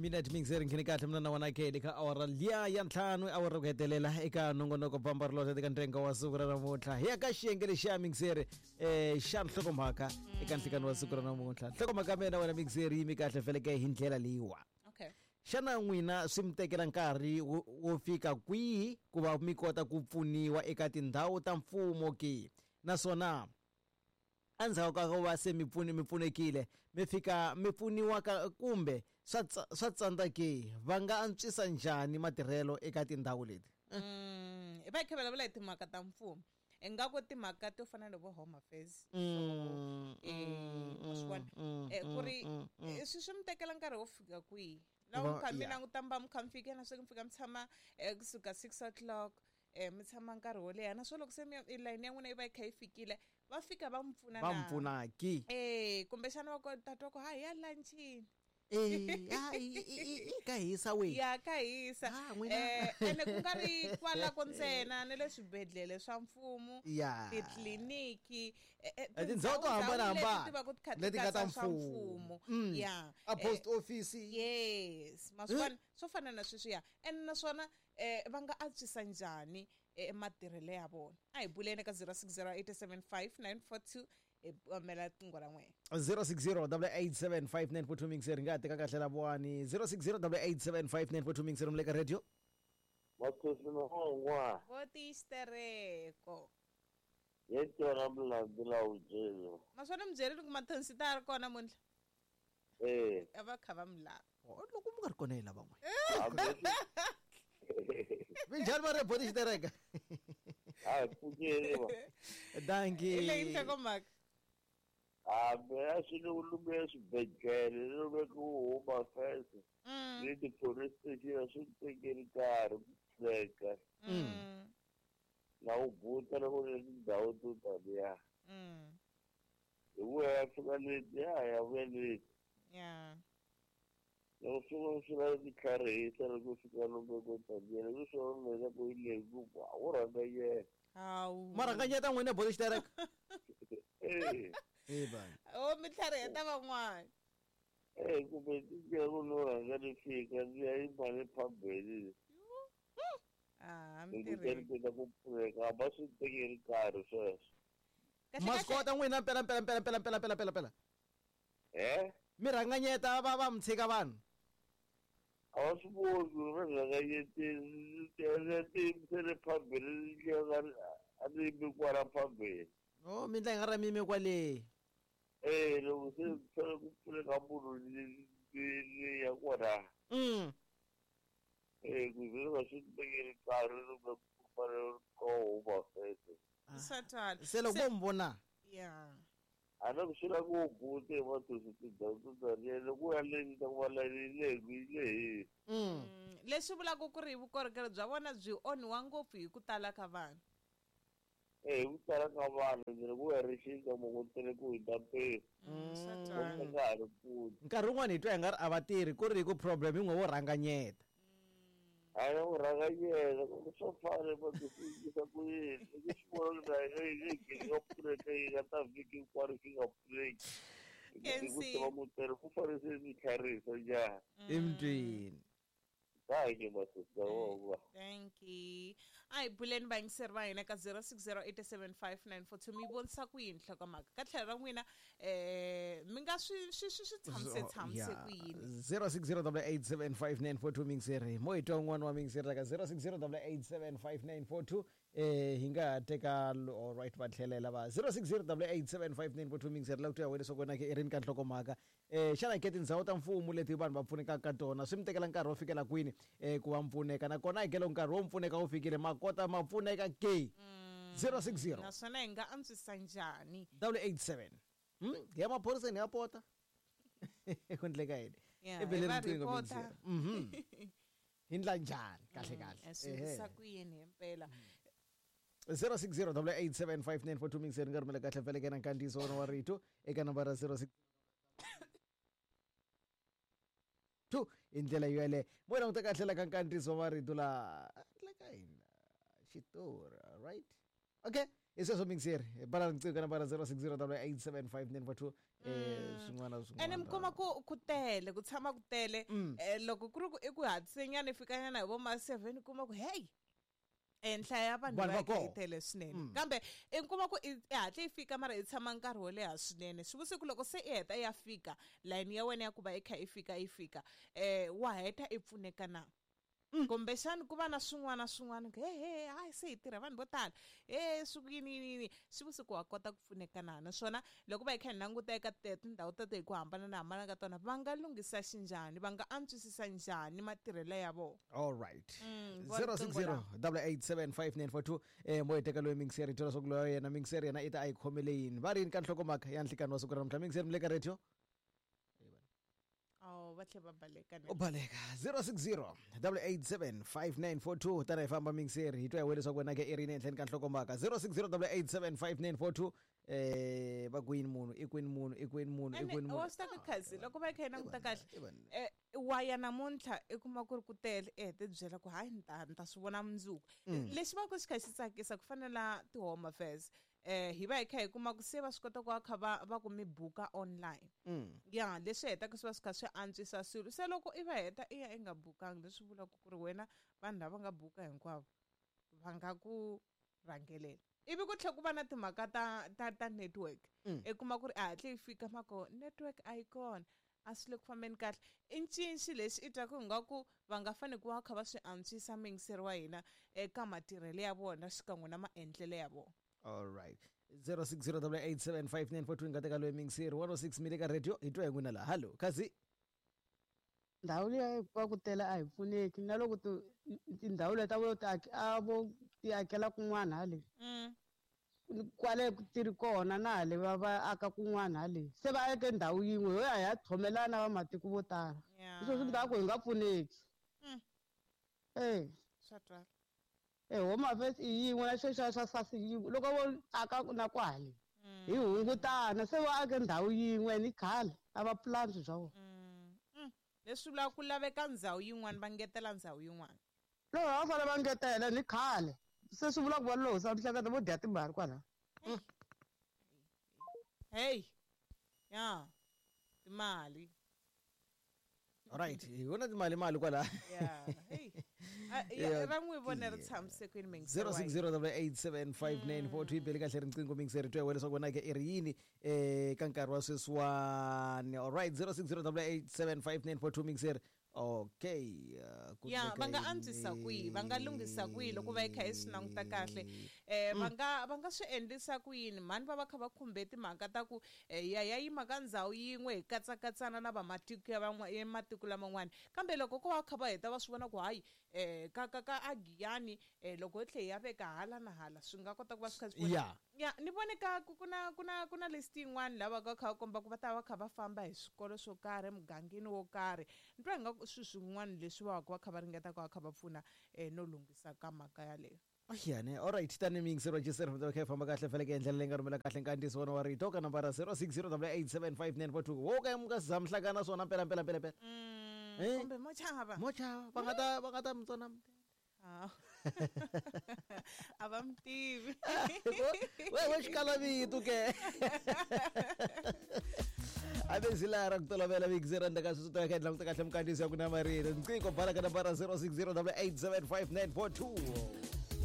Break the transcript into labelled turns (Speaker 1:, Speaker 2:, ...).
Speaker 1: Minute mixer nkhini kahle mina na wena ke le ka awara liya ya ntlhanu awara ku hetelela eka nongonoko bamba ri eka ntsengo wa siku ra namuntlha hi ya ka xiyenge lexiya mixer xa nhlokomhaka eka nhlikani wa siku ra namuntlha nhlokomhaka mina wena mixer yi mi kahle feleke hi ndlela leyiwa.
Speaker 2: Okay.
Speaker 1: Xana n'wina swi mi tekela nkarhi wo fika kwihi ku va mi kota ku pfuniwa eka tindhawu ta mfumo ke? Naswona endzhaku ka ku va se mi mi pfunekile mi fika mi pfuniwa ka kumbe swa tsandza ke? Va nga antswisa njhani matirhelo eka tindhawu leti?
Speaker 2: Hi va hi kha vulavula hi timhaka ta mfumo, ingaku timhaka to fana na vo Home Affairs, swi vona ku ri swi mi tekela nkarhi wo fika kwihi loko mi kha mi languta mi va mi kha mi fika na swi mi fika mi tshama kusuka 6 o'clock mi tshama nkarhi wo leha, naswona loko se layini ya n'wina yi va yi kha yi fikile va fika va mi pfuna
Speaker 1: va mi pfuna ki
Speaker 2: kumbexana va ku tatwa ku ha hi ya lunchini
Speaker 1: ka hisa we
Speaker 2: ya ka hisa ene ku nga ri kwalako ntsena na le swibedhlele swa mfumo, titliliniki,
Speaker 1: tindhawu to hambanahambana leti nga ta mfumo,
Speaker 2: ya
Speaker 1: a post office,
Speaker 2: yes, maswona swo fana na sweswiya. Ene naswona va nga antswisa njhani matirhelo ya vona? A hi buleni ka 06087594 hi kombela tingo ra n'wina.
Speaker 1: 0608875942 mixer nga teka kahle la vwani 0608875942 mixer mle ka radio.
Speaker 3: Mathosini hongwa.
Speaker 2: Vo tixitereko.
Speaker 3: Yetona mlandu la ujelo.
Speaker 2: Maswona mi byerile ku mathonsi ta ri kona muntlha.
Speaker 3: Eh.
Speaker 2: A va kha va mi lava.
Speaker 1: Loko mi nga ri kona hi lava n'we. Minjhani va re boti xitereka?
Speaker 3: A pfukeli va.
Speaker 1: Dankie.
Speaker 2: Hi leyi nhlokomhaka.
Speaker 3: Hambi a swi le lume swibedhlele lume ku Home Affairs ni ti-police station a swi tekeli nkarhi ku pfuneka na wu buta loko ri tindhawu to taniya hi vuya ya fika leti ya vuya leti loko fika swi lava ti tlharihisa loko fika loko ko taniya loko swi vona leswaku yi lehi ku wu rhanganyela.
Speaker 2: Hawu.
Speaker 1: Ma rhanganyeta n'wina boti xitereka?
Speaker 3: Eh.
Speaker 1: Eba.
Speaker 2: O mi tlhariheta van'wana.
Speaker 3: Eh kumbe ti ku no rhanga ni fika ndzi ya yima le phambili.
Speaker 2: Ah,
Speaker 3: mi
Speaker 2: tirhi.
Speaker 3: Ku ku pfuneka ba swi tekeli nkarhi sweswo.
Speaker 1: Ma swi kota n'wina mpela mpela mpela mpela mpela mpela mpela mpela.
Speaker 3: Eh?
Speaker 1: Mi rhanganyeta va mi tshika vanhu.
Speaker 3: A va swi voni ku va rhanganyeteni se le phambili a ni yimi kwala phambili.
Speaker 1: Oh, mi ndla hi nga ra mimi kwale.
Speaker 3: Eh, loko se fanele ku pfuneka munhu ni ya kona. Eh, ku ze va swi tekeli nkarhi loko ku fanele ko Home Affairs.
Speaker 2: Swa twala.
Speaker 1: Se loko vo mi vona.
Speaker 2: Ya.
Speaker 3: A na ku swi lava ku bute hi mathosi tindhawu to taniya loko u ya le ta ku va layini yi lehi yi lehile.
Speaker 2: Leswi vulaka ku ri vukorhokeri bya vona byi onhiwa ngopfu hi ku tala ka vanhu.
Speaker 3: Eh, hi ku tala ka vanhu ndzi loko u ya ri xinta mo ku tele ku hundza mpimo.
Speaker 2: Swa
Speaker 3: Loko
Speaker 2: twala.
Speaker 3: nga ha ri pfuni.
Speaker 1: Nkarhi wun'wani hi twa hi nga ri a va tirhi ku ri hi ku problem hi n'we wo rhanganyeta.
Speaker 3: A ya ku rhanganyela ku swo fana va ti yisa ku yini loko swi vona ku na yi yi nga pfuneka yi nga ta vhiki hinkwaro yi nga pfuneki. Hi ku tiva ku tele ku fanele se mi tlharihisa njhani.
Speaker 1: Emutini.
Speaker 3: Dankie masista wova.
Speaker 2: Thank you. A hi buleni vayingiseri va hina ka 06087594 mi vonisa ku yini nhlokomhaka ka tlhelo ra n'wina mi nga swi swi swi swi tshamise tshamise ku yini?
Speaker 1: 0608875942 mixer mo hi twa un'wana wa mixer ka 0608875942 hi nga teka all right va tlhelela va 0608875942 mixer la ku twa wena leswaku wena ke i rini ka nhlokomhaka xana ke tindhawu ta mfumo leti vanhu va pfunekaka ka tona swi mi tekela nkarhi wo fikela kwini ku va mpfuneka nakona hi kelo nkarhi wo mpfuneka wu fikile ma kota ma pfuneka ke 060
Speaker 2: Naswona hi nga antswisa njhani?
Speaker 1: 887 ya maphoriseni ya pota ku endleka yini
Speaker 2: Ya,
Speaker 1: i bele
Speaker 2: hi va
Speaker 1: riqingho
Speaker 2: report-a.
Speaker 1: mixer hi ndla njhani kahle kahle
Speaker 2: Swi endlisa ku yini himpela?
Speaker 1: 0608875942 mixer nga rhumela kahle vele ke na nkandziyiso wona wa rito eka nambara 06 2 hi ndlela yoyaleyo mo languta kahle la ka nkandziyiso wa rito la endleka yini xitori right okay hi sweswo mixer hi bala riqingho ka nambara 0608875942 Swin'wana na
Speaker 2: Ene mi
Speaker 1: swin'wana.
Speaker 2: Kuma ku tele, ku tshama ku tele. Loko ku ri ku i ku hatlisenyana, i fikanyana hi vo ma 7, kuma ku hey, nhlayo ya vanhu
Speaker 1: Vanhu
Speaker 2: va
Speaker 1: va
Speaker 2: kha yi
Speaker 1: kona.
Speaker 2: tele swinene, kambe i kuma ku i hatle yi fika, mara i tshama nkarhi wo leha swinene. Swi vusiku loko se i heta i ya fika, layini ya wena ya ku va i kha i fika, wa heta i pfuneka na? Kumbexani ku va na swin'wana swin'wana ku he hayi, se hi tirha vanhu vo tala, he swi ku yini yini yini. Swi vusiku wa kota ku pfuneka na? Naswona loko va hi kha hi languta eka tindhawu teto hi ku hambana na hambana ka tona, va nga lunghisa xinjhani, va nga antswisisa njhani matirhelo ya vona?
Speaker 1: All right.
Speaker 2: Va riqingho.
Speaker 1: 060 887 5942. Mo hi teka loyi mingiseri, hi twa leswaku loyi yena mingiseri yena i ta a yi khomele yini, va ri yini ka nhlokomhaka ya nhlikani wa siku ra namuntlha. Mingiseri, mi le ka radio.
Speaker 2: Oh, va tlhe va baleka ne.
Speaker 1: U baleka. 060 887 5942. Tana hi famba, mingiseri, hi twa hi we leswaku wena ke i ri yini ehenhleni ka nhlokomhaka. 060 887 5942. Va kwini munhu? I kwini munhu? I kwini munhu? I
Speaker 2: Ene
Speaker 1: kwini munhu?
Speaker 2: Wa swi ta ku khazi loko va kha yi languta kahle,
Speaker 1: Vanhu.
Speaker 2: Wa ya namuntlha, i kuma ku ri ku tele, i hete byela ku hayi, ni ta swi vona mundzuku. Lexi va ku xi kha xi tsakisa ku fana na ti-Home Affairs, hi va hi kha hi kuma ku se va swi kota ku va kha va ku mi buka online. Ya, leswi hetaka swi va swi kha swi antswisa swilo. Se loko i va heta i ya i nga bukangi, leswi vulaka ku ri wena vanhu lava nga buka hinkwavo va nga ku rhangelela. Ivi ku tlhela ku va na timhaka ta network. I kuma ku ri a hatle yi fika, mako network a yi kona, a swi le ku fambeni kahle. I ncinci lexi i twaku ingaku va nga fanele ku va kha va swi antswisa, muyingiseri wa hina, eka matirhelo ya vona xikan'we na maendlelo ya vona.
Speaker 1: All right, 060 887 5942. Nga teka loyi mingiseri. 106, mi le ka radio, hi twa hi n'wina laha. Hallo, khazi.
Speaker 4: Ndhawu liya va ku tele a hi pfuneki, na loko tindhawu leti a vo ti a vo ti akela kun'wana hale kwale ti ri kona, na hale va aka kun'wana hale, se va ake ndhawu yin'we, ho ya hi ya tlhomelana va matiko vo tala. Hi swona swi endlaka ku hi nga pfuneki. E
Speaker 2: Swa twala.
Speaker 4: E Home Affairs i yin'we na xo xa xa SARS yin'we, loko vo aka na kwale hi hungutana. Se va ake ndhawu yin'we ni khale a va pulani swilo swa vona.
Speaker 2: Leswi vulaka ku laveka ndhawu yin'wana, va ngetela ndhawu yin'wana.
Speaker 4: Loko va fanele va ngetela ni khale, se swi vula ku va losa mihleketo, vo dya timali kwalaho.
Speaker 2: Hey, ya timali.
Speaker 1: Alright, hi vona timali mali kwala.
Speaker 2: Ya, hey. Ah, ya, ra n'wi vona ri tshamisekile, muyingiseri wa hina.
Speaker 1: 060 887 5942. Yi bele kahle riqingho, mingiseri, twa hi leswaku wena ke i ri yini ka nkarhi wa sweswiwani. Alright, 060 887 5942, mingiseri. Okay, ku
Speaker 2: Ya,
Speaker 1: endleka
Speaker 2: va nga
Speaker 1: yini?
Speaker 2: antswisa kwihi, va nga lunghisa kwihi loko va yi kha hi swi languta kahle? Va nga swi endlisa ku yini mhani va kha va khumbe timhaka ta ku ya yima ka ndhawu yin'we, hi katsakatsana na vamatiko ya ya matiko laman'wana? Kambe loko ko va kha va heta va swi vona ku hayi, ka agiyani, loko hi tlhe hi ya veka hala na hala, swi nga kota ku va swi kha swi pfuna. Ya, ni vone ka ku na list yin'wana lava ka kha va komba ku va ta va kha va famba hi swikolo swo karhi emugangeni wo karhi. Ni twa ingaku swilo swin'wana leswi va va kha va ringeta ku va kha va pfuna no lunghisa ka mhaka yaleyo.
Speaker 1: Ayane, alright, tani miyingiseri wa Jiseri, va kha hi famba kahle faneleke hi ndlela leyi nga rhumela kahle nkandziyiso wona wa rito ka nambara 060 887 5942. Wo ka mi nga za mi hlangana swona mpela mpela mpela mpela. Eh?
Speaker 2: Kumbe mo chava.
Speaker 1: Mo chava, va nga ta mi tsona.
Speaker 2: Ah. A va mi tivi.
Speaker 1: We xikalavito ke a ve zila ra ku tolovela miyingiseri ndzhaku ka sweswo to ya kha hi languta kahle minkandziyiso ya ku na marito nqingho bala ka nambara 060 887 5942.